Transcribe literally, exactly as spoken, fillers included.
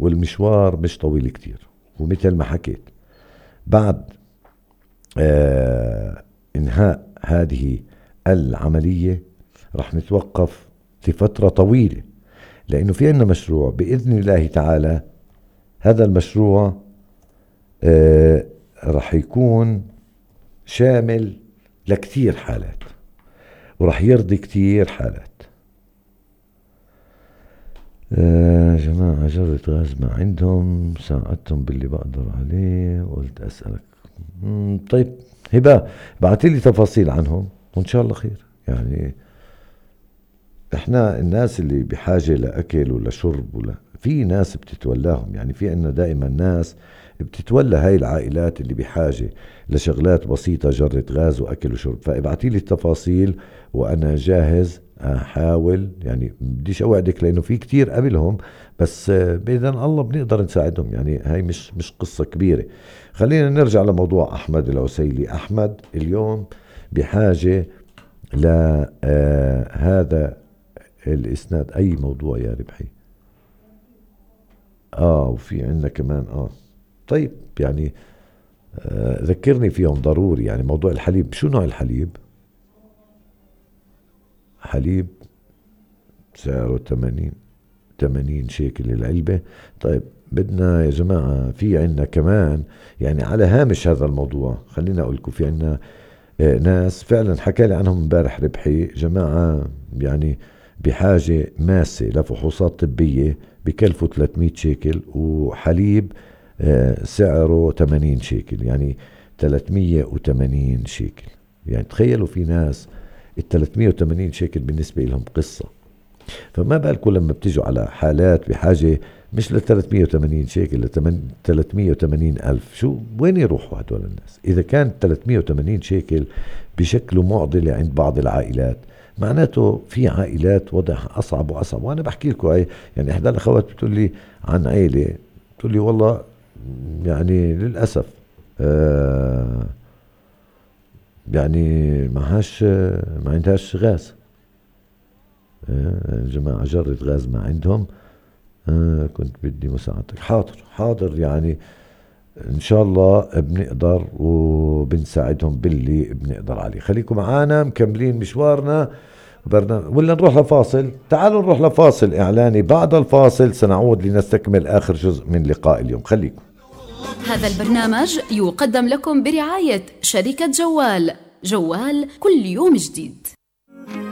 والمشوار مش طويل كتير. ومثل ما حكيت بعد آه انهاء هذه العملية رح نتوقف لفترة طويلة، لأنه في عنا مشروع بإذن الله تعالى. هذا المشروع آه رح يكون شامل لكتير حالات ورح يرضي كتير حالات. آه جماعة جرة غاز ما عندهم، ساعدتهم باللي بقدر عليه، قلت أسألك. طيب هبة بعتلي تفاصيل عنهم وإن شاء الله خير. يعني إحنا الناس اللي بحاجة لأكل ولا شرب ولا في ناس بتتولاهم، يعني في عنا دائما ناس بتتولى هاي العائلات اللي بحاجة لشغلات بسيطة، جرة غاز وأكل وشرب. فابعتيلي التفاصيل وأنا جاهز أحاول. يعني بديش أوعدك لأنه في كتير قبلهم، بس بإذن الله بنقدر نساعدهم. يعني هاي مش مش قصة كبيرة. خلينا نرجع لموضوع أحمد العسيلي. أحمد اليوم بحاجة لهذا الإسناد. أي موضوع يا ربحي؟ آه وفي عنا كمان آه طيب يعني آه ذكرني فيهم ضروري. يعني موضوع الحليب، شو نوع الحليب؟ حليب سعره ثمانين ثمانين شيكل العلبة. طيب بدنا يا جماعة في عنا كمان يعني على هامش هذا الموضوع، خلينا أقول لكم في عنا آه ناس فعلا حكى لي عنهم امبارح ربحي جماعة، يعني بحاجة ماسة لفحوصات طبية بكلفوا ثلاثمية شيكل، وحليب آه سعره ثمانين شيكل، يعني ثلاثمية وثمانين شيكل. يعني تخيلوا في ناس ال ثلاثمية وثمانين شيكل بالنسبة لهم قصة. فما بالكم لما بتجوا على حالات بحاجة مش ل ثلاثمية وثمانين شيكل ل ثلاثمية وثمانين ألف، شو وين يروحوا هدول الناس؟ إذا كان ثلاثمية وثمانين شيكل بشكل معضلة عند بعض العائلات، معناته في عائلات وضعها أصعب وأصعب. وأنا بحكي لكم يعني إحدى الأخوات بتقول لي عن عائلة، بتقول لي والله يعني للأسف آه يعني معهاش ما عندهاش غاز. آه جماعة جرة غاز ما عندهم. آه كنت بدي مساعدتك. حاضر حاضر، يعني إن شاء الله بنقدر وبنساعدهم باللي بنقدر عليه. خليكم معانا مكملين مشوارنا برنامج، ولا نروح لفاصل؟ تعالوا نروح لفاصل إعلاني. بعد الفاصل سنعود لنستكمل آخر جزء من لقاء اليوم. خليكم. هذا البرنامج يقدم لكم برعاية شركة جوال. جوال كل يوم جديد.